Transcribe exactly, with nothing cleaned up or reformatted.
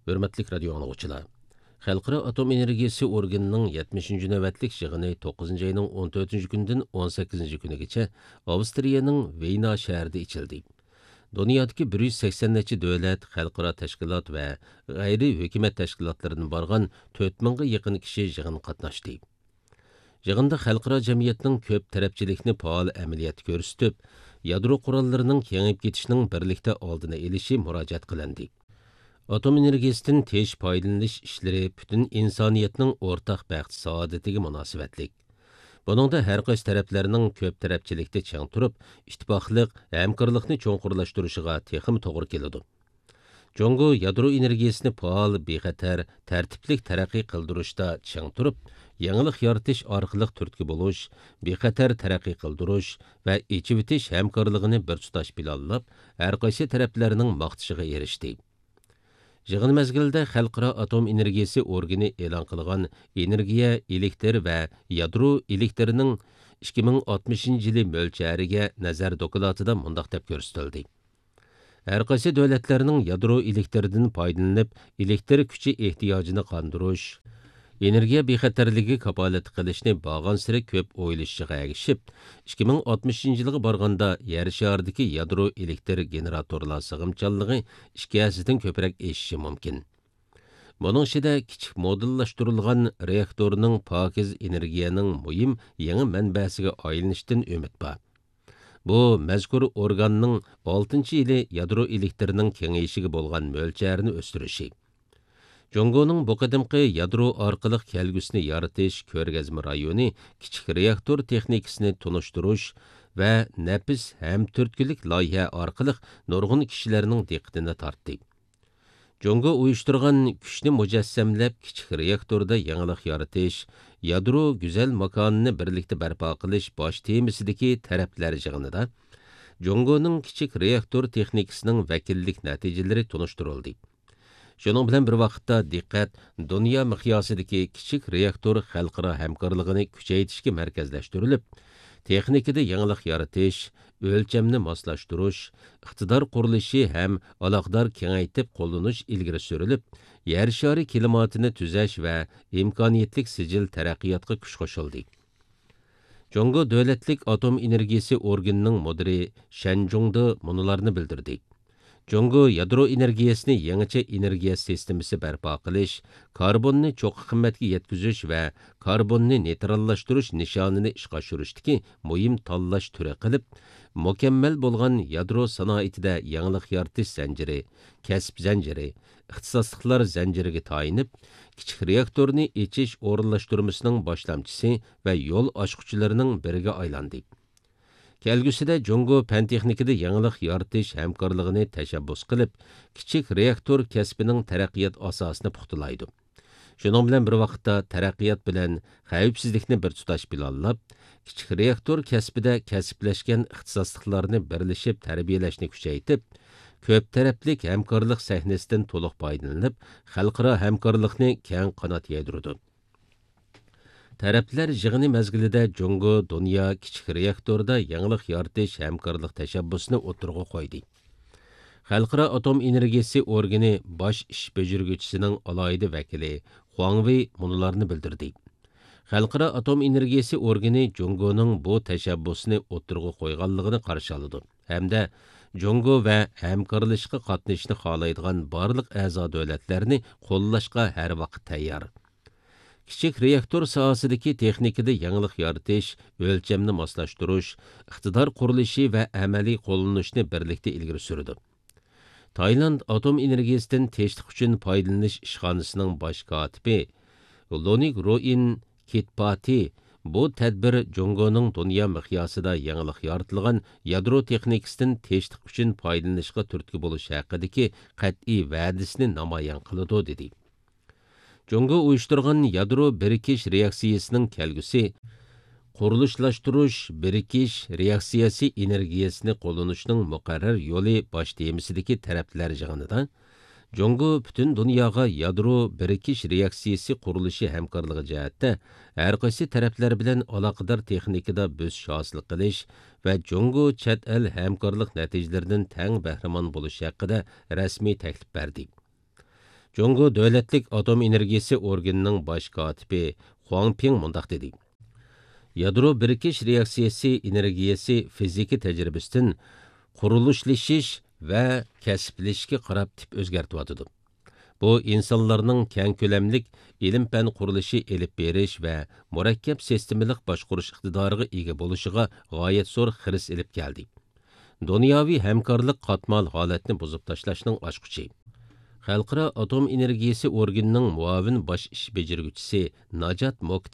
ھۆرمەتلىك رادىيو ئاڭلىغۇچىلار! خەلقئارا ئاتوم ئېنېرگىيىسى ئورگىنىنىڭ يەتمىشىنچى نۆۋەتلىك يىغىنى توققۇزىنچى ئاينىڭ ئون تۆتىنچى كۈنىدىن ئون سەككىزىنچى كۈنىگىچە ئاۋسترىيەنىڭ ۋېينا شەھىرىدە ئېچىلدى. دۇنيادىكى بىر يۈز سەكسەن نەچچە دۆلەت، خەلقئارا تەشكىلات ۋە غەيرىي ھۆكۈمەت تەشكىلاتلىرىدىن بارغان تۆت مىڭغا يېقىن كىشى يىغىنغا قاتناشتى. يىغىندا خەلقئارا جەمئىيەتنىڭ كۆپ تەرەپچىلىكنى پائال ئەمەلىيەتتە كۆرسىتىپ، يادرو قوراللىرىنىڭ كېڭىيىپ كېتىشىنىڭ بىرلىكتە ئالدىنى ئېلىشى مۇراجىئەت قىلىندى. ئاتوم ئېنېرگىيىسىدىن تىنچ پايدىلىنىش ئىشلىرى پۈتۈن ئىنسانىيەتنىڭ ئورتاق بەخت-سائادىتىگە مۇناسىۋەتلىك. بۇنىڭدا ھەر قايسى تەرەپلەرنىڭ كۆپ تەرەپچىلىكتە چىڭ تۇرۇپ، ئىتتىپاقلىق، ھەمكارلىقنى چوڭقۇرلاشتۇرۇشىغا تېخىمۇ توغرا كېلىدۇ. جۇڭگو يادرو ئېنېرگىيىسىنى پائال، بىخەتەر، تەرتىپلىك تەرەققىي قىلدۇرۇشتا چىڭ تۇرۇپ، يېڭىلىق يارىتىش ئارقىلىق تۈرتكە بولۇش، بىخەتەر تەرەققىي قىلدۇرۇش ۋە ئېچىۋېتىش ھەمكارلىقىنى بىر تۇتاش پىلانلاپ، ھەر قايسى تەرەپلەرنىڭ ماختىشىغا ئېرىشتى. يىغىن مەزگىلىدە خەلقئارا ئاتوم ئېنېرگىيىسى ئورگىنى ئېلان قىلغان ئېنېرگىيە، ئېلېكتر ۋە يادرو ئېلېكتىرىنىڭ ئىككى مىڭ ئاتمىشىنچى يىلى مۆلچەرىگە نەزەر دوكلاتىدا مۇنداق دەپ كۆرسىتىلدى: ھەر قايسى دۆلەتلەرنىڭ يادرو ئېلېكتىرىدىن پايدىلىنىپ، ئېلېكتىر كۈچى ئېھتىياجىنى قاندۇرۇش، ئېنېرگىيە بىخەتەرلىكى كاپالەت قىلىشنى بارغانسېرى كۆپ ئويلىشىشىغا ئەگىشىپ، ئىككى مىڭ ئاتمىشىنچى يىلغا بارغاندا يەر شارىدىكى يادرو ئېلېكتىر گېنېراتورلار سىغىمچانلىقى ئىككى ھەسسىدىن كۆپرەك ئېشىشى مۇمكىن. بۇنىڭ ئىچىدە كىچىك مودېللاشتۇرۇلغان رېئاكتورنىڭ پاكىز ئېنېرگىيەنىڭ مۇھىم يېڭى مەنبەسىگە ئايلىنىشىدىن ئۈمىد بار. بۇ مەزكۇر ئورگاننىڭ ئالتىنچى يىلى يادرو ئېلېكتىرىنىڭ كېڭىيىشىگە بولغان مۆلچەرنى ئۆستۈرۈشى. جۇڭگونىڭ بۇ قېتىمقى يادرو ئارقىلىق كەلگۈسىنى يارىتىش كۆرگەزمە رايونى كىچىك رېئاكتور تېخنىكىسىنى تونۇشتۇرۇش ۋە نەپىس ھەم تۈرتكىلىك لايىھە ئارقىلىق نۇرغۇن كىشىلەرنىڭ دىققىتىنى تارتتى. جۇڭگو ئۇيۇشتۇرغان كۈچنى مۇجەسسەملەپ، كىچىك رېئاكتوردا يېڭىلىق يارىتىش، يادرو گۈزەل ماكانىنى بىرلىكتە بەرپا قىلىش باش تېمىسىدىكى تەرەپلەر يىغىنىدا جۇڭگونىڭ كىچىك رېئاكتور تېخنىكىسىنىڭ ۋەكىللىك نەتىجىلىرى تونۇشتۇرۇلدى. شۇنىڭ بىلەن بىر ۋاقىتتا، دىققەت دۇنيا مىقياسىدىكى كىچىك رېئاكتور خەلقئارا ھەمكارلىقىنى كۈچەيتىشكە مەركەزلەشتۈرۈلۈپ، تېخنىكىدا يېڭىلىق يارىتىش، ئۆلچەمنى ماسلاشتۇرۇش، ئىقتىدار قۇرۇلۇشى ھەم ئالاقىدار كېڭەيتىپ قوللىنىش ئىلگىرى سۈرۈلۈپ، يەر شارى كىلىماتىنى تۈزەش ۋە ئىمكانىيەتلىك سىجىل تەرەققىياتقا كۈچ قوشۇلدى. جۇڭگو دۆلەتلىك ئاتوم ئېنېرگىيىسى ئورگىنىنىڭ مۇدىرى شەن جۇڭدې مۇنۇلارنى بىلدۈردى: جۇڭگو يادرو ئېنېرگىيەسىنى يېڭىچە ئېنېرگىيە سىستېمىسى بەرپا قىلىش، كاربوننى چوققا قىممەتكە يەتكۈزۈش ۋە كاربوننى نېيتراللاشتۇرۇش نىشانىنى ئىشقا ئاشۇرۇشتىكى مۇھىم تاللاش تۈرى قىلىپ، مۇكەممەل بولغان يادرو سانائىتىدە يېڭىلىق يارىتىش زەنجىرى، كەسىپ زەنجىرى، ئىختىساسلىقلار زەنجىرىگە تايىنىپ، كىچىك رېئاكتورنى ئېچىش ئورۇنلاشتۇرمىسىنىڭ باشلامچىسى ۋە يول ئاچقۇچىلىرىنىڭ بىرىگە ئايلاندى. كەلگۈسىدە جۇڭگو پەن-تېخنىكىدا يېڭىلىق يارىتىش ھەمكارلىقىنى تەشەببۇس قىلىپ، كىچىك رېئاكتور كەسپىنىڭ تەرەققىيات ئاساسىنى پۇختىلايدۇ. شۇنىڭ بىلەن بىر ۋاقىتتا، تەرەققىيات بىلەن خەۋپسىزلىكنى بىر تۇتاش پىلانلاپ، كىچىك رېئاكتور كەسپىدە كەسىپلەشكەن ئىختىساسلىقلارنى بىرلىشىپ تەربىيەلەشنى كۈچەيتىپ، كۆپ تەرەپلىك ھەمكارلىق سەھنىسىدىن تولۇق پايدىلىنىپ، خەلقئارا ھەمكارلىقنى كەڭ قانات يايدۇرىدۇ. تەرەپلەر يىغىنى مەزگىلىدە جۇڭگو دۇنيا كىچىك رېئاكتوردا يېڭىلىق يارىتىش ھەمكارلىق تەشەببۇسىنى ئوتتۇرىغا قويدى. خەلقئارا ئاتوم ئېنېرگىيىسى ئورگىنى باش ئىش بېجىرگۈچىسىنىڭ ئالاھىدە ۋەكىلى خۇاڭ ۋېي مۇنۇلارنى بىلدۈردى: خەلقئارا ئاتوم ئېنېرگىيىسى ئورگىنى جۇڭگونىڭ بۇ تەشەببۇسىنى ئوتتۇرىغا قويغانلىقىنى قارشى ئالىدۇ ھەمدە جۇڭگو ۋە ھەمكارلىشىشقا قاتنىشىشنى خالايدىغان بارلىق ئەزا دۆلەتلەرنى قوللاشقا ھەر ۋاقىت تەييار. كىچىك رېئاكتور ساھەسىدىكى تېخنىكىدا يېڭىلىق يارىتىش، ئۆلچەمنى ماسلاشتۇرۇش، ئىقتىدار قۇرۇلۇشى ۋە ئەمەلىي قوللىنىشنى بىرلىكتە ئىلگىرى سۈرىدۇ. تايلاند ئاتوم ئېنېرگىيىسىدىن تىنچلىق ئۈچۈن پايدىلىنىش ئىشخانىسىنىڭ باش كاتىپى لونىك روئىن كىتپاتى بۇ تەدبىر جۇڭگونىڭ دۇنيا مىقياسىدا يېڭىلىق يارىتىلغان يادرو تېخنىكىسىدىن تىنچلىق ئۈچۈن پايدىلىنىشقا تۈرتكە بولۇش ھەققىدىكى قەتئىي ۋەدىسىنى نامايان قىلىدۇ، دېدى. جۇڭگو ئۇيۇشتۇرغان يادرو بىرىكىش رېئاكسىيىسىنىڭ كەلگۈسى قۇرۇلۇشلاشتۇرۇش، بىرىكىش رېئاكسىيەسى ئېنېرگىيەسىنى قوللىنىشنىڭ مۇقەررەر يولى باش تېمىسىدىكى تەرەپلەر يىغىنىدا، جۇڭگو پۈتۈن دۇنياغا يادرو بىرىكىش رېئاكسىيەسى قۇرۇلۇشى ھەمكارلىقى جەھەتتە ھەر قايسى تەرەپلەر بىلەن ئالاقىدار تېخنىكىدا بۆسۈش ھاسىل قىلىش ۋە جۇڭگو چەت ئەل ھەمكارلىق نەتىجىلىرىدىن تەڭ بەھرىمەن بولۇش ھەققىدە رەسمىي تەكلىپ بەردى. جۇڭگو دۆلەتلىك ئاتوم ئېنېرگىيىسى ئورگىنىنىڭ باش كاتىپى خۇاڭ پىڭ مۇنداق دېدى: يادرو بىرىكىش رېئاكسىيەسى ئېنېرگىيەسى فىزىكا تەجرىبىسىدىن قۇرۇلۇشلىشىش ۋە كەسىپلىشىشكە قاراپ تىپ ئۆزگەرتىۋاتىدۇ. بۇ ئىنسانلارنىڭ كەڭ كۆلەملىك ئىلىم-پەن قۇرۇلۇشى ئېلىپ بېرىش ۋە مۇرەككەپ سىستېمىلىق باشقۇرۇش ئىقتىدارىغا ئىگە بولۇشىغا غايەت زور خىرىس ئېلىپ كەلدى. دۇنياۋى ھەمكارلىق قاتمال ھالەتنى بۇزۇپ تاشلاشنىڭ ئاچقۇچى. خەلقئارا ئاتوم ئېنېرگىيىسى ئورگىنىنىڭ مۇئاۋىن باش ئىش بېجىرگۈچىسى ناجات موك